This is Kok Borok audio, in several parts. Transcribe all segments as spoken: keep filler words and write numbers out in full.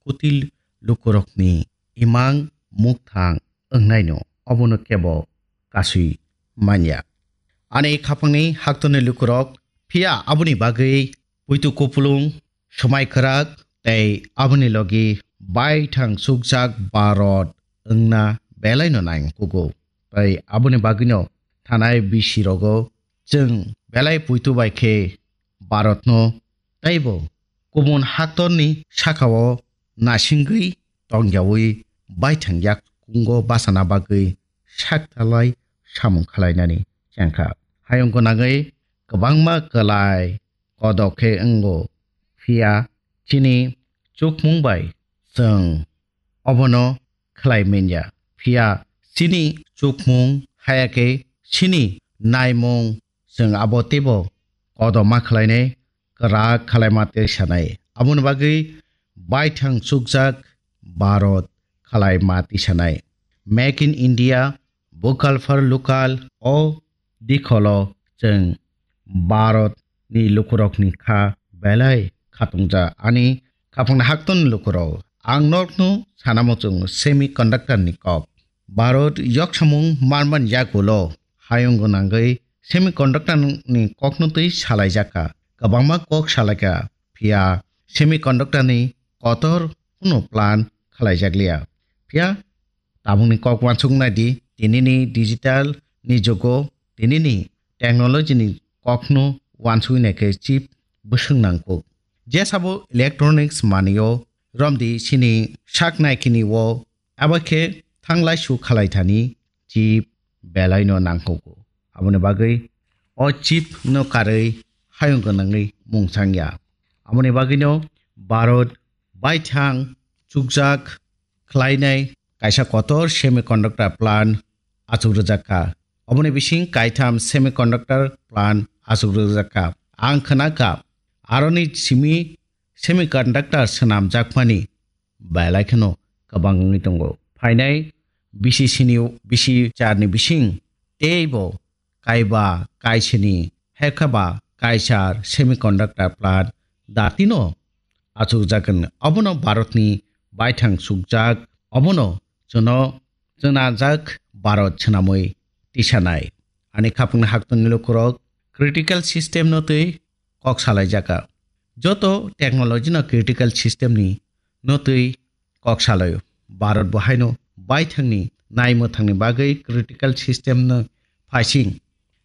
kutil lukurokni imang mukthang wngnaino obono kebo kasui manya. Ani khapangni haktorni lukurok, phiya aboni bagwi puitu kupulung, swmai kwrak tei aboni logi baithang chukjak Bharat wngna belaino nangkugo. Tei aboni bagwino thanai bisi rogo chwng belai puitu bai khe Bharatno teibo kubun haktorni sakao nasingwi tongyaui baithang yak kungo bachana bagwi saktalai samung khalainani chengkha. Hayung gwnangwi kwbangma kwlai kodok khe wngo, phiya chini chukmung bai chwng obono khlai manya. Phiya chini chukmung haya khe chini naimung chwng abo teibo kodoma khlainai, kwrak khalaima tei sanai. Aboni bagwi baithang chukjak Bharat khalaima tisanai. Make in India, vocal for local o dikholo chwng Bharat ni lukurokni kha belai khatungja ani khapangni haktorni lukurok. Ang nokno sanamo chwng semiconductor ni kok. Bharat yoksamung manman yagulo hayung gwnangwi semiconductor ni kokno twi salaijak kha. Kwbangma kok salaikha, phiya semiconductor ni kotor kuno plan khalaijakliya. Phiya tabukni kok uansuk nai di, tinini digital ni jugo, tinini technology ni kokno uansuk nai khe chip bwswk nangkuk. Jesabo electronics manio romdi sini sak naikini o, abo khe thanglai su khalai thani chip belai no nangkuk. Aboni bagwi o chip no karwi hayung gwnangwi mung changya. Aboni bagwi no Bharat baithang chukjak khlainai kaisa kotor semiconductor plant achuk rwjak kha. Oboni bising kaitham semiconductor plant achuk rwjak kha. Ang khna kha, aroni simi semiconductor swnamjakmani belai kheno kwbang wngwi tongo. Phainai bisi sini, bisi charni bising teibo kaiba kaisini, hekaba kaisar semiconductor plant datino achukjak hwn. Obono Bharatni baithang sukjak, obono chwno chwnajak Bharat swnamwi tisanai. Ani khapangni haktorni lukurok critical system no twi kok salaijaka. Joto technology no critical system ni no twi kok salaio. Bharat bo haino baithangni naimwthangni bagwi critical system no phaising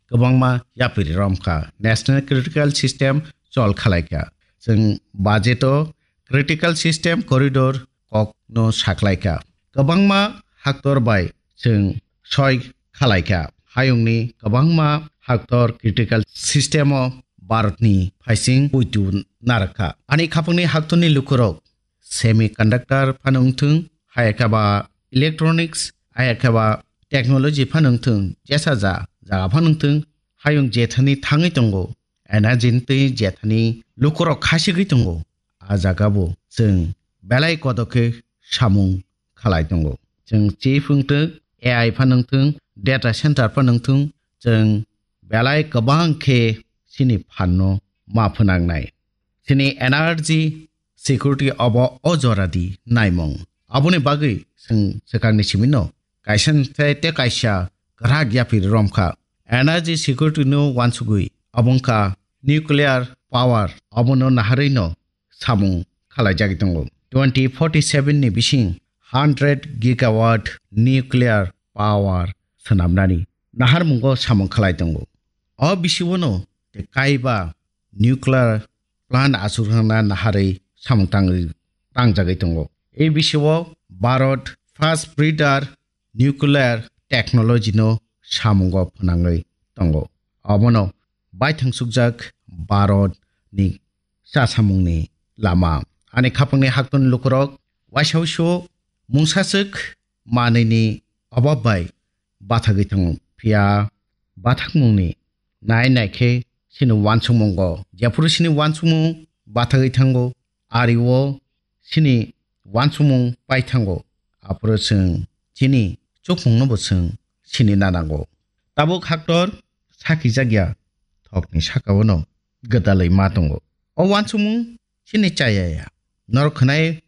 kwbangma yapiri romkha. National critical system chol khalaikha. Chwng budget o critical system corridor kok no saklaikha. Kwbangma haktor bai chwng soi khalaikha. Hayungni kwbangma haktor critical system o Bharatni phaising puitu narakha. Ani khapangni haktorni lukurok semiconductor phano wngthung, hayakhe ba electronics, hayakhe ba technology phano wngthung, jesa ja jaga phano wngthung, hayung jethani thangwi tongo, energy ni twi jethani lukurok khasigwi tongo, a jaga bo chwng belai kodo khe samung khalai tongo. Chwng chip wngthung, A I phano wngthung, data center phano wngthung, chwng belai kwbang khe chini phanno ma phwnangnai. Chini energy security obo o jora di naimung. Aboni bagwi chwng swkangni simino kaisa tei tei kaisa kwrak yapiri romkha. Energy security no wansugwi obo wngkha nuclear power, obono naharwi no samung khalaijagwi tongo. Twenty forty seven ni bising hundred gigawatt nuclear power swnamnani naharmungo samung khalai tongo. O bisingo no tei kaiba nuclear plant achuk rwna naharwi samung tangwi, tangjagwi tongo. A B C o Bharat first breeder nuclear technology no samungo phwnangwi tongo. Obono baithang sukjak Bharat ni chasamungni lama. Ani khapangni haktorni lukurok waisa waisa mungsaswk manwini obab bai bathagwi thango. Phiya bathakmungni nai nai khe chini wansukmungo, jephuru chini wansukmung bathagwi thango, ari o chini wansukmung pai thango, aphuru chwng chini chukmungno bo chwng sini nanango. Tabuk haktor sakijak ya thokni saka o no gwdalwi ma tongo. O wansukmung chini chaya ya. Norok khwnai